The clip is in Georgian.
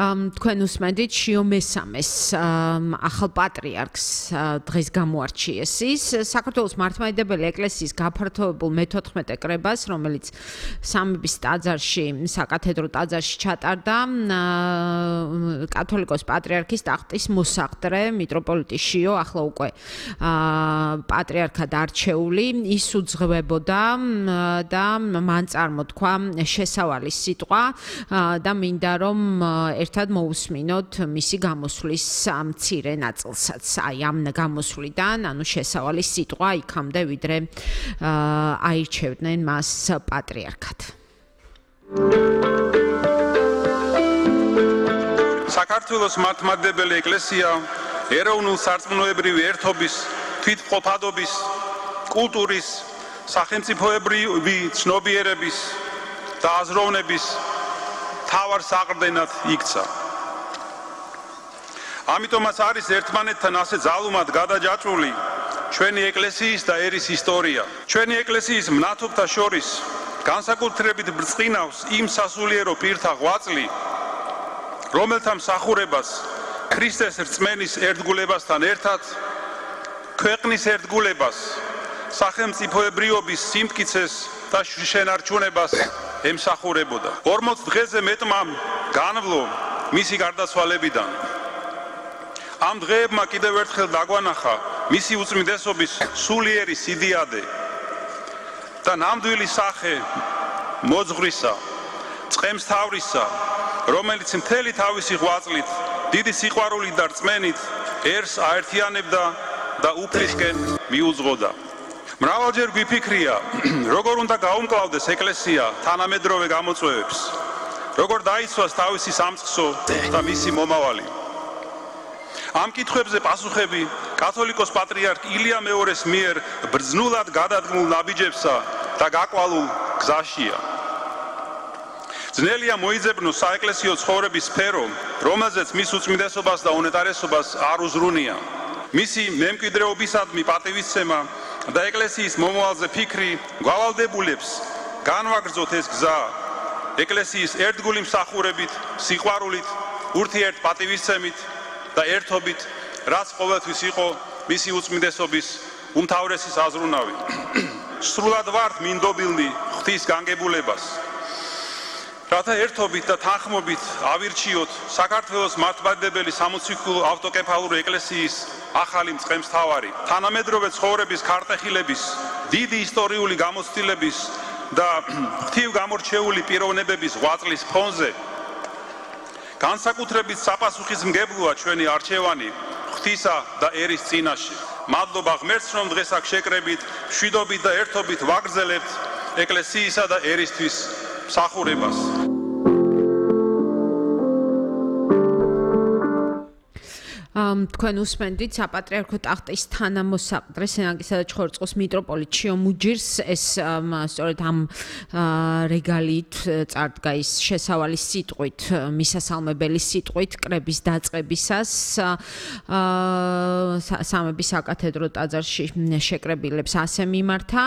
თქვენ უსმენთ შიო მესამეს ახალ პატრიარქს დღეს გამოარჩიეს ის საქართველოს მართლმადიდებელი ეკლესიის გაფართოებულ მე-14 კრებას, რომელიც სამების ტაძარში, საკათედრო ტაძარში ჩატარდა კათოლიკოს პატრიარქის ტახტის მოსაყდრე მიტროპოლიტი შიო, ახლა უკვე პატრიარქად არჩეული, ის უძღვებოდა და მან წარმოთქვა შესავალი სიტყვა და მინდა რომ ერთად მოусმინოთ მისი გამოსვლის მცირე ნაწილსაც. აი ამ გამოსვლიდან, ანუ შესავალი სიტყვა იქამდე, ვიდრე აირჩევდნენ მას პატრიარქად. საქართველოს მართლმადიდებელი ეკლესია ეროვნულ სარწმუნოებრივი ერთობის, თვითმყოფადობის, კულტურის, სახელმწიფოებრივი ცნობიერების და აზროვნების თავარ საყრდენად იქცა. ამიტომაც არის ერთმანეთთან ასე ძალუმად გადაჯაჭვული ჩვენი ეკლესიის და ერის ისტორია. ჩვენი ეკლესიის მნათობთა შორის განსაკუთრებით ბრწყინავს იმ სასულიერო პირთა ღვაწლი, რომელთა მსახურებას ქრისტეს რწმენის ერთგულებასთან ერთად ქვეყნის ერთგულებას, სახელმწიფოებრიობის სიმტკიცეს და შენარჩუნებას ემსახურებოდა. 40 დღეზე მეტმა განვლო მისი გარდაცვალებიდან. ამ დღეებმა კიდევ ერთხელ დაგვანახა მისი უწმიდესობის სულიერი სიდიადე და ნამდვილი სახე მოძღვრისა, წყემსთავრისა, რომელიც მთელი თავისი ღვაწლით, დიდი სიყვარულით და რწმენით ერს აერთიანებდა და უფლისკენ მიუძღოდა. მრავალჯერ გვიფიქრია, როგორ უნდა გაუმკლავდეს ეკლესია თანამედროვე გამოწვევებს, როგორ დაიცვას თავისი სამწყსო და მისი მომავალი. ამ კითხვებზე პასუხები კათოლიკოს პატრიარქ ილია მეორეს მიერ ბრძნულად გადადგმულ ნაბიჯებსა და გაკვალულ გზაშია. ძნელია მოიძებნოს საეკლესიო ცხოვრების სფერო, რომელზეც მის უწმიდესობას და უნეტარესობას არ უზრუნია. მისი მემკვიდრეობისადმი პატივისცემა და ეკლესიის მომავალზე ფიქრი გვალდებულებს განვაგრძოთ ეს გზა ეკლესიის ერთგული მსახურებით, სიყვარულით, ურთიერთ პატივისცემით და ერთობით, რაც ყოველთვის იყო მისი უწმიდესობის უმთავრესი საზრუნავი. სრულად ვართ მინდობილნი ღვთის განგებულებას, რათა ერთობით და თანხმობით ავირჩიოთ საქართველოს მართლმადიდებელი სამოციქულო ავტოკეფალური ეკლესიის ახალი მწყემსთავარი. თანამედროვე ცხოვრების ქარტეხილების, დიდი ისტორიული გამოცდილების და ღვთივ გამორჩეული პიროვნებების ღვაწლის ფონზე განსაკუთრებით საპასუხისმგებლოა ჩვენი არჩევანი ღვთისა და ერის წინაშე. მადლობა ღმერთს, რომ დღეს აქ შეკრებით, მშვიდობით და ერთობით ვაგრძელებთ ეკლესიისა და ერისთვის მსახურებას. თქვენ უსმენთ საპატრიარქო ტახტის თანამოსაყდრე სენაკისა და ჩხოროწყუს მიტროპოლიტ შიო მუჯირს, ეს სწორედ ამ რეგალით წარდგა ის შესავალი სიტყვით, მისასალმებელი სიტყვით კრების დაწყებისას სამების საკათედრო ტაძარში შეკრებილებს ასე მიმართა.